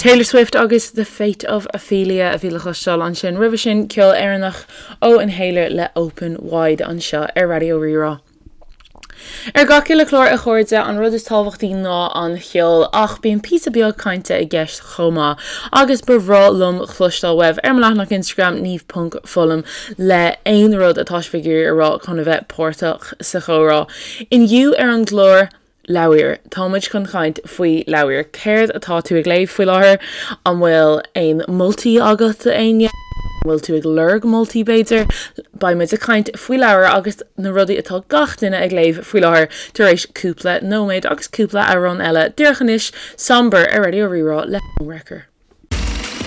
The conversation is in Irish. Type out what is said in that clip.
Taylor Swift agus The Fate of Ophelia a bhí le cloisteáil ansin. Roimhe sin, ceol Éireannach ó Inhaler le Open Wide anseo ar Raidió Rí-Rá. Ar gach uile chlár, a chairde, an rud is tábhachtaí ná an cheol, ach bíonn píosa beag cainte i gceist chomh maith. Agus ba bhreá liom cloisteáil uaibh ar mo leathanach Instagram, niamh.foghlaim, le aon rud atá sibh ag iarraidh a rá chun a bheith páirteach sa chomhrá. Inniu ar an gclár, Leabhair. Tá muid chun caint faoi leabhair. Céard atá tú ag léamh faoi láthair? An bhfuil aon moltaí agat do éinne? An bhfuil tú ag lorg moltaí b'fhéidir? Beidh muid ag caint faoi leabhair agus na rudaí atá gach duine ag léamh faoi láthair tar éis cúpla nóiméad agus cúpla amhrán eile. Díreach anois, Somber ar Raidió Rí-Rá le Homewrecker.